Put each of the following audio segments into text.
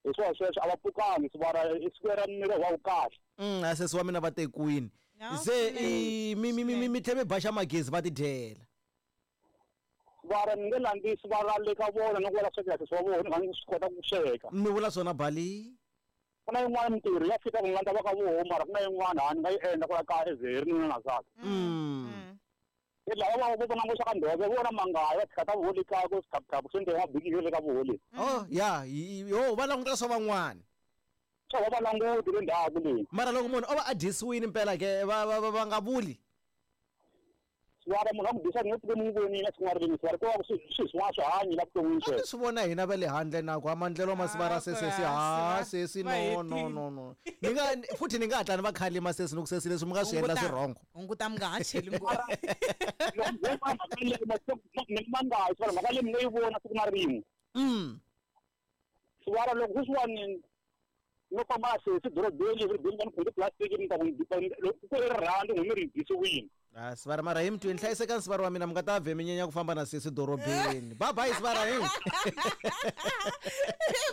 Hi swona sweswo a va pfukangi sivara i siku ra miri wa wu kahle. A sesi wa mina va tekiwini. No, Se swinene, i mi mi mi mi tlhe mi baxa magezi va tidyela. Sivara ni nge landzi sivara le ka vona ni ku va la swekela sesi wa vona ni swi kota ku sweka. Mi vula swona Bali? Ku na yin'wana mintirho ya fika ku ni landza va ka voho mara ku na yin'wana ha ni nga yi endla kwala kaya as hi ri nuna na nsati. E lava va vo vona ngopfu ka ndhove vona mangaya va tshika ta voho le kaya ku swikhapukhapu swi endle mabiki le ka voho le. Oh ya, yo va languta swa van'wana. Swa va va languti le ndzhaku le. Mara loko munhu o va a dyisiwile mpela ke va va va nga vuli. Sivara munhu a ku dyisa ni nge pfuki ni n'wi vonile siku na rin'we sivara ko va ku swi swi swin'wana swi hanyi la vuton'wini A mi swi vona hina va le handle na ku a maendlelo ma sivara sesi ha sesi no no no no. Ni nga futhi ni nga hatla ni va khalima sesi ni ku sesi leswi mi nga swi endla swi wrong. Hunguta mi nga ha cheli ngopfu. Mhaka leyi sivara mhaka leyi mi nge yi vona siku na rin'we. Sivara loko sweswiwani no famba na sesi dorobeni dorobeni va ni khumbe plastic ni ta ku ku i rirhandzu n'wi mi ri dyisiwile. Ah, sivara mara hi mutweni hlayisekani sivara wa mina mi nga ta vhe mi nyenya ku famba na sesi dorobeni. Bye bye sivara hi.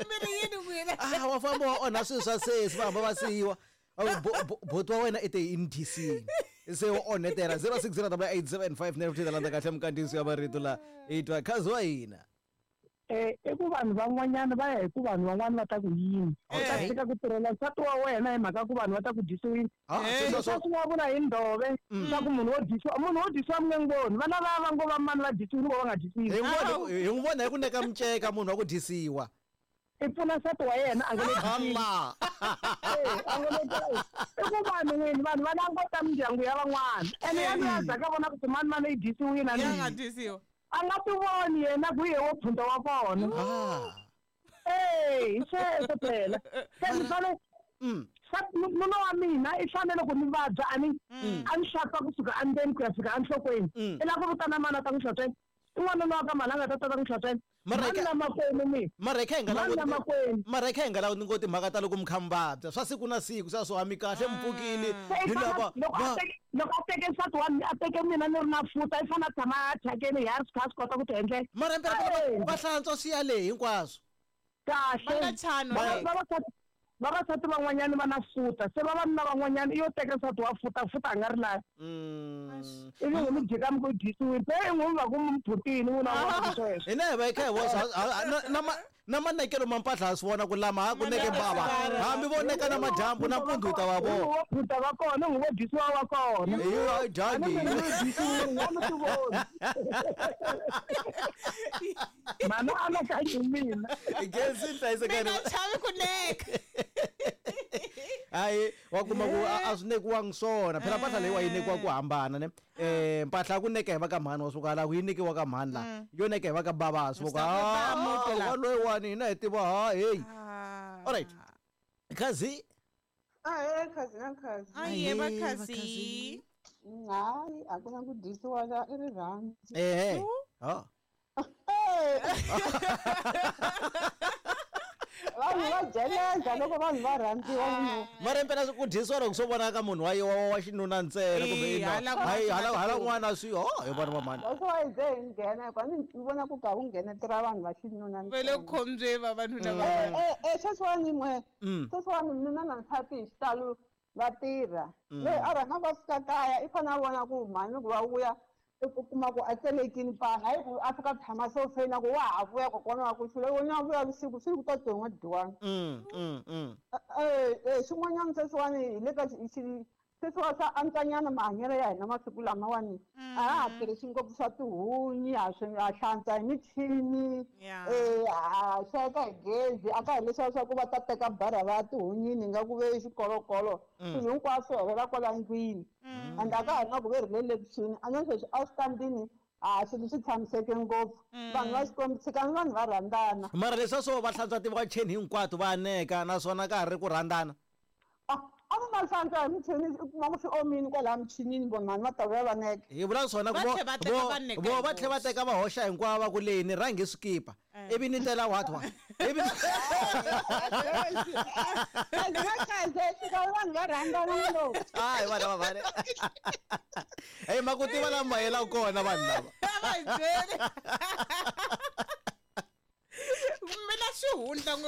Mi ri yini n'wina? Ah, wa famba wa onha swilo swa sesi va hamba va siyiwa. Boti wa wena i te i ni dyisini. Se u onhetela 06088759 landza kahle minkandziyiso ya marito la hi twa khazi wa hina. I ku vanhu van'wanyana va ya hi ku vanhu van'wana va ta ku yini. U ta tshika ku tirhela nsati wa wena hi mhaka ku vanhu va ta ku dyisiwile. Leswi swi nga vula hi ndhove swa ku munhu wo dyisiwa, munhu wo dyisiwa mi nge n'wi voni. Vana va va ngo va mani va dyisiwile vo va nga dyisiwi. Hi n'wi vona hi ku neka miceka munhu wa ku dyisiwa. I pfuna nsati wa yena a nga le dyisiwi. A nga le i ku vanhu n'wini vanhu va languta mindyangu ya van'wana. Ene ya luya za ka vona ku mani mani yi dyisiwile a Ya nga dyisiwa. A nga ti voni yena ku ye wo phunta wa kona. Eh, hi sweswo phela. Se ni fanele nuna wa mina i fanele ku ni vabya a ni a ni hlantswa kusuka endzeni ku ya fika enhlokweni. I lava ku vitana mani a ta n'wi hlantswela. I n'wanuna wa ka mhani a nga ta ta ta n'wi hlantswela. Mani na makwenu mina. Mara hi kha hi nga Mani na makwenu. Mara hi kha hi nga languti ngopfu timhaka ta loko mi kha mi vabya swa siku na siku swa swo a mi kahle mi pfukile Se i hi fana lava loko a va teke loko a teke nsati wa mina a teke mina ni ri na futa i fanele a tshama a thyakeni hi a ri kha a swi kota ku ti endlela. Mara mpela Ae. va hlantswa swi ya le hinkwaswo. Kahle. Va nga chani Va- wena. vavasati vavasati van'wanyana va na futa se vavanuna van'wanyana i yo teka nsati wa futa futa a nga ri lavi. Ivi n'wi mi jika mi ku dyisiwile se i n'wi va ku mi phutini n'wina wa ku sweswo. Hina hi va hi kha hi vona na na manekelo ma mpahla ha swi vona ku lama ha ku neke mbava hambi vo neka na madyambu na mpundzu hi ta va vona. Vo phuta va kona n'wi vo dyisiwa wa kona. Hi a dyangi. Mhani anakanyi mina. Gezi hlayisekani. Mi nga chavi ku neka. Hayi wa kuma ku a swi nekiwangi swona phela mpahla leyiwa yi nekiwa ku hambana ne mpahla ya ku neka hi va ka mhani wa suka la ku yi nekiwa ka mhani la yo neka hi va ka bava swi voka wa loyiwani hina hi tiva ha hey all right khazi Ahe khazi na khazi. Aye va khazi. Hayi a ku na ku dyisiwa la i rirhandzu. Ehe ha Vanhu va jeleza loko vanhu va rhandziwa munhu. Mara impela ku dyisiwa loko swo vonaka munhu wa wa xinuna ntsena kumbe Eh, ina hala ku hayi hala hala ku- n'wana swi ho hi vona va mhani. That's why ze hi nghena hikuva ni vona ku ka ku nghenetela vanhu va xinuna Va le khombyeni vavanuna va Eh eh sweswiwani n'we. Sweswiwani nuna na nsati hi xitalo va tirha. Loyi a rhanga va fika kaya i fanele a vona ku mhani loko va vuya i ku kuma ku a tselekini pana hayi ku a fika tshama sofeni a ku wa ha vuya kokwana wa ku xula wena vuya vusiku swi ku ta ton'wa dyiwani. Xin'wanyana sweswiwani hi le ka sweswiwa swa antswanyana mahanyelo ya hina masiku lamawani a ha ha tirhisi ngopfu swa tihunyi ha swi ha hlantswa hi michini ha sweka hi gezi a ka hi leswiya swa ku va ta teka barha va ya tihunyini nga ku ve xikolokolo swilo hinkwaswo helela kwala ndlwini and a ka ha ri na ku ve ri le lekixini a na sweswi a switandini a swilo swi tshamiseke ngopfu vanhu va Xikwembu tshikani vanhu va rhandzana. Mara leswiya swo va hlantswa tiwacheni hinkwato va neka naswona ka ha ri ku rhandzana. A va nga hlantswa hi michini u kuma ku swi omile kwalaya michinini vo mhani va ta vuya va neka. Hi vula swona ku vo va tlhe va teka va hoxa hinkwavo va ku leyi ni rhangi swikipa ivi ni tela what what ivi vanhu va rhandzana ngopfu. Hayi vana va vale. Hey ma ku tiva lama ma yelaka kona vanhu lava. Va hi byeli. Mina xihundla.